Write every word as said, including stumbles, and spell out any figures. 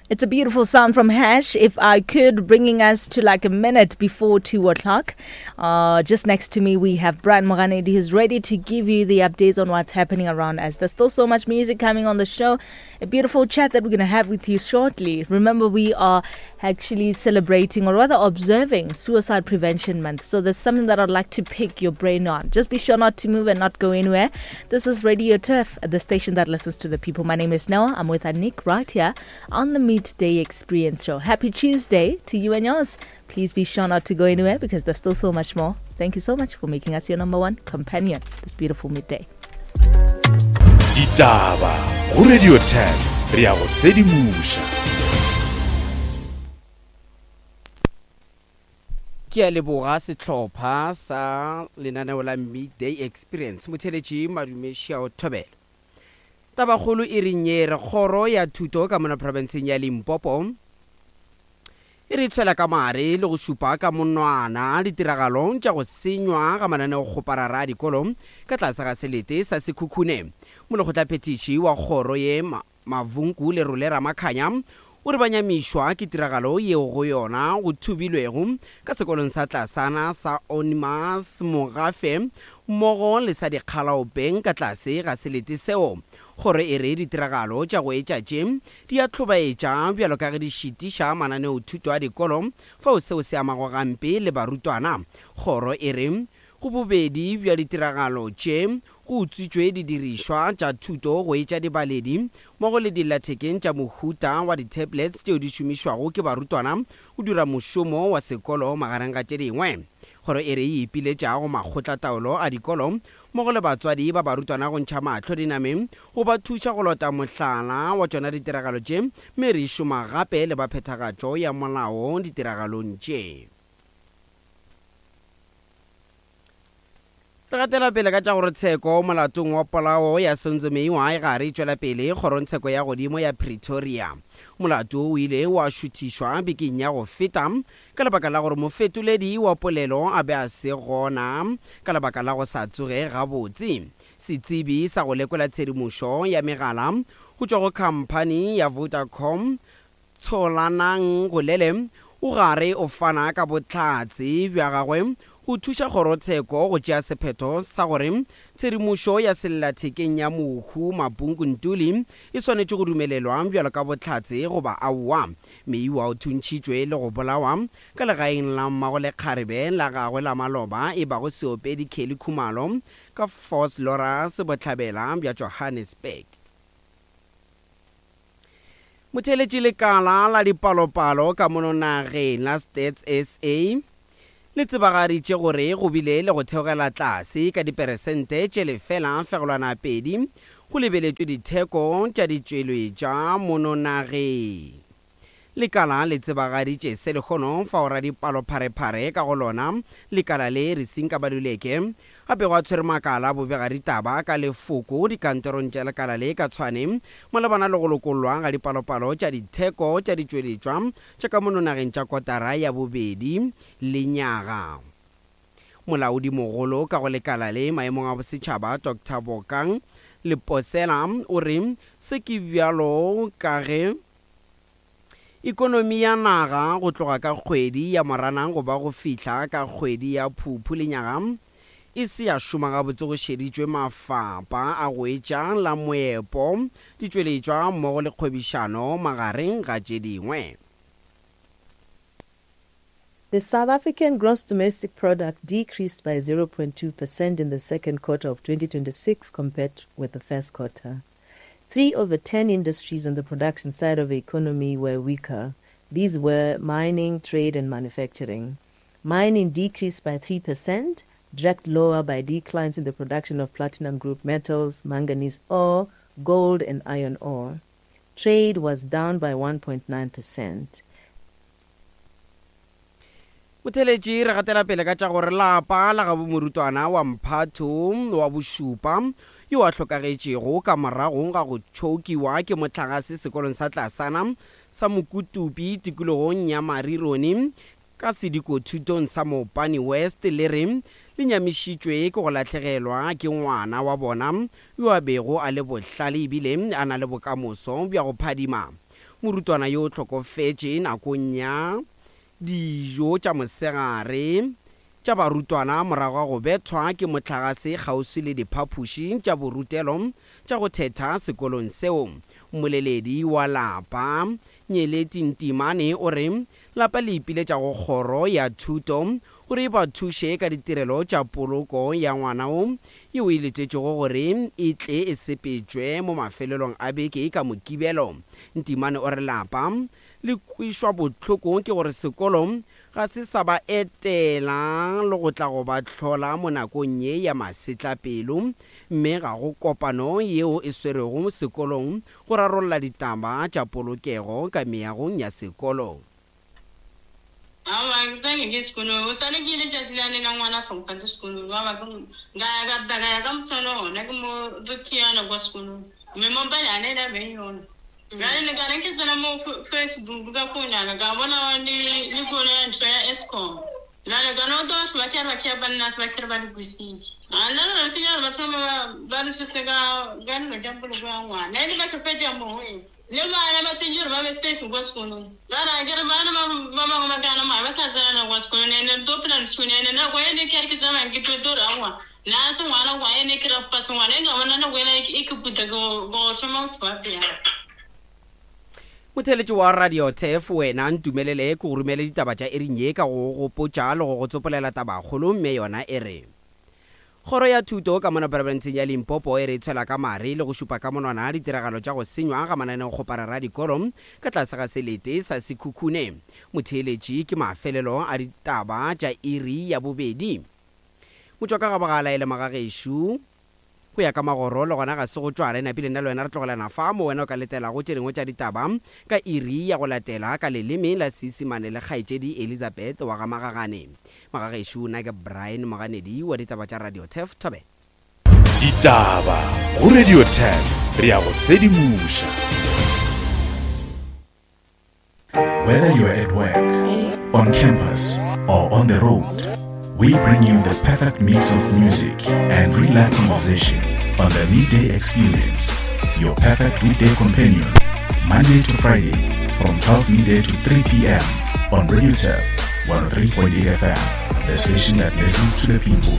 It's a beautiful sound from Hash, If I Could, bringing us to like a minute before two o'clock. Uh, just next to me, we have Brian Moganedi, who's ready to give you the updates on what's happening around us. There's still so much music coming on the show. A beautiful chat that we're going to have with you shortly. Remember, we are actually celebrating, or rather observing, Suicide Prevention Month. So there's something that I'd like to pick your brain on. Just be sure not to move and not go anywhere. This is Radio Turf, the station that listens to the people. My name is Noah. I'm with Anik right here on the Midday Experience Show. Happy Tuesday to you and yours. Please be sure not to go anywhere because there's still so much more. Thank you so much for making us your number one companion this beautiful midday. Ditaba go Radio ten re ya go sedimoša. Ke a leboga sehlopha sa lenaneo la Midday Experience. Motheletši Madumešia o thobela. Tabakgolo e reng ye re kgoro ya thuto ka mona profenseng ya Limpopo e re tshwela ka mare le go šupa ka monwana ditiragalong tša go senywa ga mananeokgoparara a dikolo ka tlase ga selete sa Sekhukhune. Molekgotlaphethiši wa kgoro ye Mavunku Lerole Ramakhanya o re ba nyamišwa ke tiragalo yeo go yona go thubilwego ka sekolong sa tlasana sa Onimas Mogafe mmogo le sa Dikgalaopeng ka tlase ga selete seo. Kgoro e re ditiragalo tša go etša tše di a hlobaetša bjalo ka ge di šitiša mananeothuto a dikolo fao seo se amago gampe le barutwana. Kgoro e re go bobedi bja ditiragalo tše go utswitšwe didirišwa tša thuto go etša dibaledi mmogo le dillathekeng tša mohuta wa di-tablets tšeo di šomišwago ke barutwana go dira mošomo wa sekolo magareng ga tše dingwe. Kgoro e re e ipiletša go makgotlataolo a dikolo mmogo le batswadi ba barutwana go ntšha mahlo dinameng go ba thuša go lota mohlala wa tšona ditiragalo tše, mme re šoma gape le ba phethagatšo ya molao ditiragalong tše. Re gatela pele ka tša gore tsheko molatong wa polao ya Senzo Meyiwa e gare e tšwela pele kgorongtsheko ya godimo ya Pretoria. Molato o ile wa šuthišwa bekeng ya go feta ka lebaka la gore mofetoledi wa polelo a be a se gona ka lebaka la go sa tsoge gabotse. Setsebi sa go lekola tshedimošo ya megala go tšwa go khamphani ya Vodacom Tsholanang Golele o gare o fana ka bohlatse bja gagwe go thuša kgorotsheko go tšea sephetho sa gore tshedimošo ya sellathekeng ya mohu Mabungu Ntuli e swanetše go dumelelwa bjalo ka bohlatse goba aowa. Meyiwa o thuntšhitšwe le go bolawa ka legaeng la mmagolekgarebe la gagwe la maloba e bago seopedi Kelly Khumalo ka Vosloorus bohlabela bja Johannesburg. Motheeletši lekala la dipalopalo ka mono nageng la Stats S A le tsebagaditše gore go bile le go theogela tlase ka diperesente tše lefela fegelwana pedi go lebeletšwe ditheko tša ditšweletšwa mono nageng. Lekala le tsebagaditše se lekgono fao radipalopharephare ka go lona lekala le Risinka Baluleke gape go a tshwere makala bobegaditaba ka lefoko dikantorong tša lekala le ka Tshwane malebana le go lokollwa ga dipalopalo tša ditheko tša ditšweletšwa tša ka mono nageng tša kotara ya bobedi lenyaga. Molaodimogolo ka go lekala le maemong a bosetšhaba Doctor Bokang Leposela o re se ke bjalo ka ge ekonomi ya naga go tloga ka kgwedi ya Moranang go ba go fihla ka kgwedi ya Phuphu lenyaga e se ya šoma gabotse go šeditšwe mafapa a go etša la moepo, ditšweletšwa mmogo le kgwebišano magareng ga tše dingwe. The South African gross domestic product decreased by zero point two percent in the second quarter of twenty twenty-six compared with the first quarter. Three over ten industries on the production side of the economy were weaker. These were mining, trade and manufacturing. Mining decreased by three percent, dragged lower by declines in the production of platinum group metals, manganese ore, gold and iron ore. Trade was down by one point nine percent. Motheeletši re gatela pele ka tša gore lapa la gabo morutwana wa mphatho wa bošupa yo a hlokagetšego ka morago ga go tšhokiwa ke mohlagase sekolong sa tlasana sa Mokutupi tikologong ya Marironi ka sedikothutong sa Mopani West le re le nyamišitšwe ke go lahlegelwa ke ngwana wa bona yo a bego a le bohlale ebile a na le bokamoso bja go phadima. Morutwana yo o hlokofetše nakong ya dijo tša mosegare tša barutwana morago ga go bethwa ke mohlagase kgauswi le diphapoši tša borutelo tša go thetha sekolong seo. Mmoleledi wa lapa Nyeleti Ntimane o re lapa le ipiletša go kgoro ya thuto gore e ba thuše ka ditirelo tša poloko ya ngwana o yeo e letetšego gore e tle e sepetšwe mo mafelelong a beke ka Mokibelo. Ntimane o re lapa le kwešwa bohloko ke gore sekolo ga se sa ba etela le go tla go ba hlola mo nakong ye ya masetlapelo, mme ga go kopano yeo e swerego sekolong go rarolla ditaba tša polokego ka meagong ya sekolo. Awa, ke tsange ke sekolong. O sale ke ile tšatši lane la ngwana tlhompha sekolong. Ba ba ka ya ka tla ka ya ka motshwana ona ke mo re khiana kwa sekolong. Mme mo ba yana ela beng yona. Jwale ne ka re ke tsena mo Facebook ka phone ya ka ka bona le le kona ya ntho ya Eskom. Jwale ka no to se ba ke ba ke ba nna se ba ke ba di busitse. A nna re ke ya ba thoma ba ba re se ka ka no ja poloko ya ngwana. Ne ba ke fetja mo e. Le bana ba tshwanetse ba be safe kwa sekolong. Ba ra ke re bana ba ba bangwe ba kana mara ba tla tsena kwa sekolong ene to phela ntshune ene nako ene ke re ke tsamaya ke tlo ra ngwa. Na se ngwana kwa ene ke ra fa se ngwana e ka bona nako ena e ke puta go go shoma go tswa pele. Motheletši wa Radio Turf, wena ntumelele ke go romele ditaba tša iring ye ka go gopotša le go go tsopolela tabakgolo, mme yona e re Kgoro ya thuto ka mona profenseng ya Limpopo e re tshwela ka mare le go šupa ka monwana ditiragalo tša go senywa ga mananeokgoparara a dikolo ka tlase ga selete sa Sekhukhune. Motheeletši ke mafelelo a ditaba tša iri ya bobedi. Motšwaka ga bogala e le magagešo go ya ka magoro le gona ga se go tšwa re napile nna le wena re tlogelana fa mo wena o ka letelago tše dingwe tša ditaba ka iri ya go latela ka leleme la Seisemane le kgaetšedi Elizabeth wa ga Magagane. Magagešo nna ke Brian Moganedi wa ditaba tša Radio Turf Thobela. Ditaba go Radio Turf, re ya go sedimoša. Whether you're at work, on campus, or on the road, we bring you the perfect mix of music and real life conversation on the Midday Experience, your perfect weekday companion, Monday to Friday from twelve midday to three p.m. on Radio Turf one oh three point eight F M, the station that listens to the people.